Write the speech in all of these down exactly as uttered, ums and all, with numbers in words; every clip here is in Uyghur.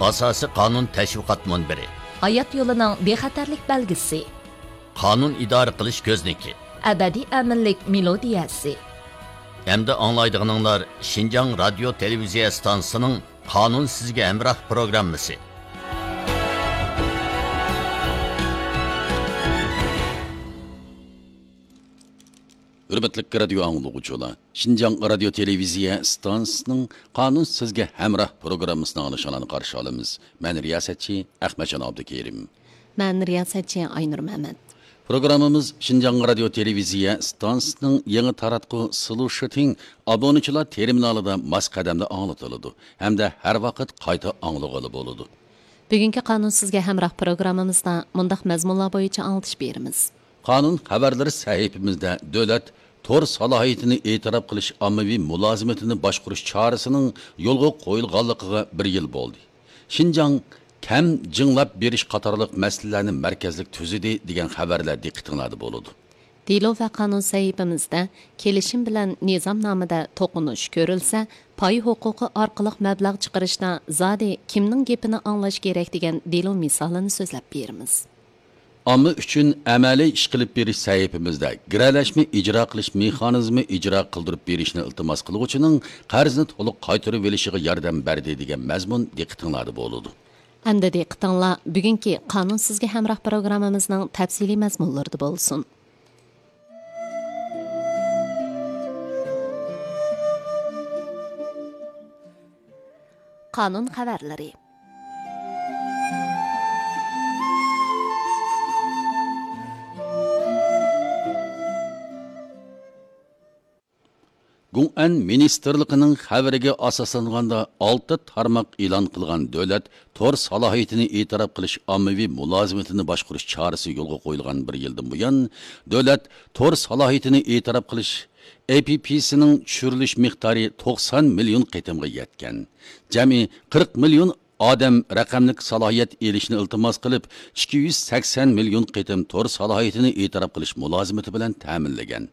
ئاساسىي قانۇن تەشۋىقات مۇنبىرى. ھايات يولىنىڭ بىخەتەرلىك بەلگىسى. قانۇن ئىدارە قىلىش كۆزنىكى. ئەبەدىي ئەمىنلىك مېلودىيەسى. ئەمدى ئاڭلايدىغىنىڭلار شىنجاڭ رادىيو تېلېۋىزىيە ئىستانسىسىنىڭ قانۇن سىزگە ھەمراھ پروگراممىسى. ھۆرمەتلىك رادىيو ئاڭلىغۇچىلار، شىنجاڭ رادىيو تېلېۋىزىيە ئىستانسىسىنىڭ قانۇن سىزگە ھەمراھ پروگراممىسىنى ئاڭلىشىڭلارنى قارشى ئالىمىز. مەن رىياسەتچى ئەخمەتجان ئابدۇكېرىم. مەن رىياسەتچى ئاينۇر مەمەت. پروگراممىمىز شىنجاڭ رادىيو تېلېۋىزىيە ئىستانسىسىنىڭ يېڭى تاراتقۇ سلۇشىتىڭ ئابۇنىچىلار تېرمىنالىدا ماس قەدەمدە ئاڭلىتىلىدۇ ھەمدە ھەر ۋاقىت قايتا ئاڭلىغىلى بولىدۇ. بۈگۈنكى قانۇن سىزگە ھەمراھ پروگراممىمىزدا مۇنداق مەزمۇنلار بويىچە ئاڭلىتىش بېرىمىز. قانۇن خەۋەرلىرى سەھىپىمىزدە دۆلەت تور سالاھىيىتىنى ئېتىراپ قىلىش ئاممىۋى مۇلازىمىتىنى باشقۇرۇش چارىسىنىڭ يولغا قويۇلغانلىقىغا بىر يىل بولدى. شىنجاڭ كەم جىڭلاپ بېرىش قاتارلىق مەسىلىلەرنى مەركەزلىك تۈزىدى دېگەن خەۋەرلەر دىققىتىڭلاردا بولىدۇ. دېلو ۋە قانۇن سەھىپىمىزدە كېلىشىم بىلەن نىزامنامىدە توقۇنۇش كۆرۈلسە، پاي ھوقۇقى ئارقىلىق مەبلەغ چىقىرىشتا زادى كىمنىڭ گېپىنى ئاڭلاش كېرەك دېگەن دېلو مىسالىنى سۆزلەپ بېرىمىز. ئامما ئۈچۈن ئەمەلىي ئىش قىلىپ بېرىش سەھىپىمىزدە گىرەلەشمە ئىجرا قىلىش مېخانىزمى ئىجرا قىلدۇرۇپ بېرىشنى ئىلتىماس قىلغۇچىنىڭ قەرزنى تولۇق قايتۇرۇۋېلىشىغا ياردەم بەردى دېگەن مەزمۇن دىققىتىڭلاردا بولىدۇ. ئەمدى دىققىتىڭلار بۈگۈنكى قانۇن سىزگە ھەمراھ پروگراممىمىزنىڭ تەپسىلىي مەزمۇنلىرىدا بولسۇن. قانۇن خەۋەرلىرى. گۇڭئەن مىنىستىرلىقىنىڭ خەۋىرىگە ئاساسلانغاندا، ئالتە تارماق ئېلان قىلغان دۆلەت تور سالاھىيىتىنى ئېتىراپ قىلىش ئاممىۋى مۇلازىمىتىنى باشقۇرۇش چارىسى يولغا قويۇلغان بىر يىلدىن بۇيان، دۆلەت تور سالاھىيىتىنى ئېتىراپ قىلىش ئېيپىپىسىنىڭ چۈشۈرۈلۈش مىقدارى توقسان مىليون قېتىمغا يەتكەن. جەمئىي قىرىق مىليون ئادەم رەقەملىك سالاھىيەت ئېلىشنى ئىلتىماس قىلىپ، ئىككى يۈز سەكسەن مىليون قېتىم تور سالاھىيىتىنى ئېتىراپ قىلىش مۇلازىمىتى بىلەن تەمىنلىگەن.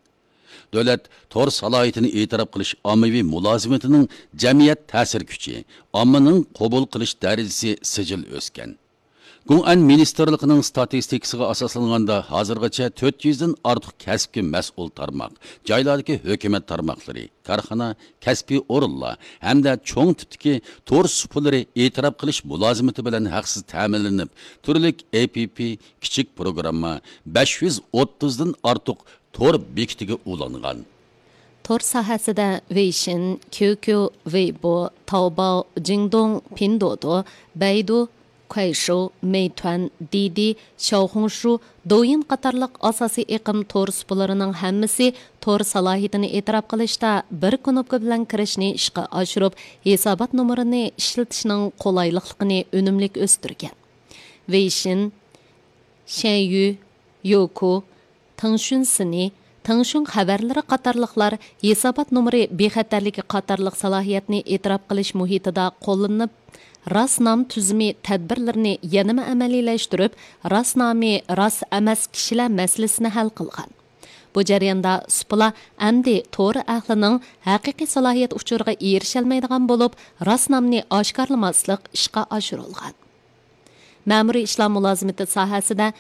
دۆلەت تور سالاھىيىتىنى ئېتىراپ قىلىش ئاممىۋى مۇلازىمىتىنىڭ جەمئىيەت تەسىر كۈچى، ئاممىنىڭ قوبۇل قىلىش دەرىجىسى سىجىل ئۆسكەن. گۇڭئەن مىنىستىرلىقىنىڭ ستاتىستىكىسىغا ئاساسلانغاندا، ھازىرغىچە تۆت يۈزدىن ئارتۇق كەسىپكە مەسئۇل تارماق، جايلاردىكى ھۆكۈمەت تارماقلىرى، كارخانا، كەسپىي ئورۇنلار ھەمدە چوڭ تىپتىكى تور سۇپىلىرى ئېتىراپ قىلىش مۇلازىمىتى بىلەن ھەقسىز تەمىنلىنىپ، تۈرلۈك ئېيپىپى، كىچىك پروگرامما، بەش يۈز ئوتتۇزدىن ئارتۇق تور بېكىتىگە ئۇلانغان. تور ساھەسىدە ۋېيشىن، كيۇكيۇ، ۋېيبو، تاۋباۋ، جىڭدوڭ، پىندودو، بەيدۇ، كۇەيشۇ، مېيتۈەن، دىدى، شياۋخۇڭشۇ، دويىن قاتارلىق ئاساسىي ئېقىم تور سۇپىلىرىنىڭ ھەممىسى تور سالاھىيىتىنى ئېتىراپ قىلىشتا بىر كۇنۇپكا بىلەن كىرىشنى ئىشقا ئاشۇرۇپ، ھېسابات نومۇرىنى ئىشلىتىشنىڭ قولايلىقلىقىنى ئۈنۈملۈك ئۆستۈرگەن. ۋېيشىن، شەنيۈ، يوكو، تېڭشۈن سىنى، تېڭشۈن خەۋەرلىرى قاتارلىقلار ھېسابات نومۇرى بىخەتەرلىكى قاتارلىق سالاھىيەتنى ئېتىراپ قىلىش مۇھىتىدا قوللىنىپ، راست نام تۈزۈمى تەدبىرلىرىنى يەنىمۇ ئەمەلىيلەشتۈرۈپ، راست نامى راست ئەمەس كىشىلەر مەسىلىسىنى ھەل قىلغان. بۇ جەرياندا سۇپىلار ئەمدى تور ئەھلىنىڭ ھەقىقىي سالاھىيەت ئۇچۇرىغا ئېرىشەلمەيدىغان بولۇپ، راست نامنى ئاشكارىلىماسلىق ئىشقا ئاشۇرۇلغان. مەمۇرىي ئىشلار مۇلازىمىتى ساھەسىدە